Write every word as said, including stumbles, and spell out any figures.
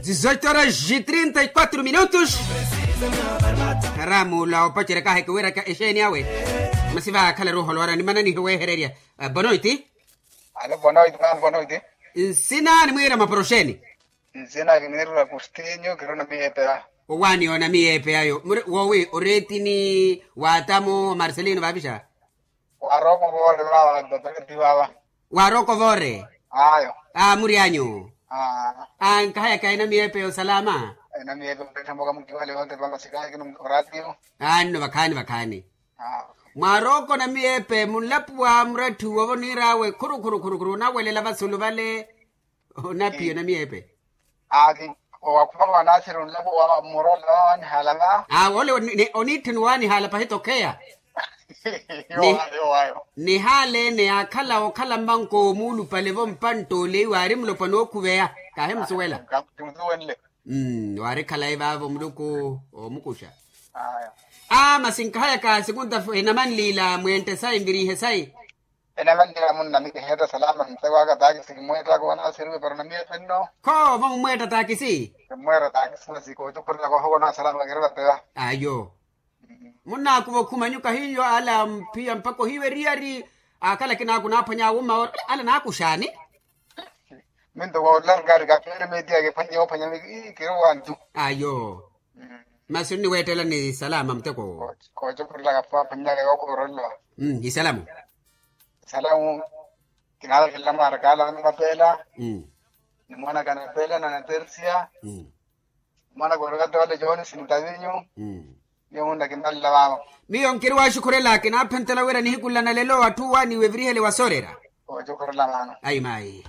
Dizoito horas e trinta e quatro minutos. Ramu la opacerya kaaheke weeraka exeeni awe. Masi vaakhala ruuholo wara nimananihi weehererya. Bonoiti. Alo bonoiti mano bonoiti. Nsina nimwiira maporoxeeni. Nsina kiniirula kustinyu kiruna miyeepeya. Owaani onamiyeepeyayo woowi oreetini waatamu omarcelino vaavixa. Waaroko voore vava. Waaroko voore. Ayo. Aa mury'anyu. Ankahayaka enamiyeepe yosalama. Enamiyeepe murettha mboka mukiwale onte vamasikaya kino oratiyo. Anno vakhaani vakhaani. Mwaaroko namiyeepe munlapuwa muratthi uwo voniir'awe khuru khuru khuru khuru onawelela vasulu vale. Onaphiya namiyeepe. Aaki owakhuma wanaasiri onlapo wa muro ola waanihala va. Ole oniittheni waanihala pahita okheya. Nihaala ene yaakhala okhala mmanko omuulupale vo mpantta ole iwe aari mulopwana ookhuveya. Kaahimusuwela. Waari khalayi vaavo muluku. Oomukuxa. Aa masi nkahayaka sikunta enamanliila mweentte sayi nvirihe sayi. Enamanliila munna mikeheetta salama nteko aka taakisi kimweettaka onasiriwe para namiyeepe nno. Kho vo mumweetta taakisi. Kimweetta taakisi masi koocukhurelaka ohowa onaa salama kiri vapeya. Ayo. Munnaakuva okhumanyu kahiyo ala mphiya mpakha ohiiwa eriyari. Akhala kinaaku naaphwanya awumma ori ala naakuxaani. Minto woollankari kapeere meetiya kiphwanye oophwanya miki kiri wantu. Ayo. Masi onniweettelani salama muteko owo. Koocukhurelaka pho aphwanyaka yookhurelwa. Isalamu. Isalamu. Kinaalakhela mwaarakaala vano vapeela. Ni mwanaka napeela na natersiya. Mwanaka orikatewale jooni sintavinyu. Miyo munna kinalla vano. Miyo nkiri waaxukhurela kinaaphenttela wira nihiku nla nalelo atthu waaniiwe evirihele wasoorera. Koocukhurela vano. Ayi maayi.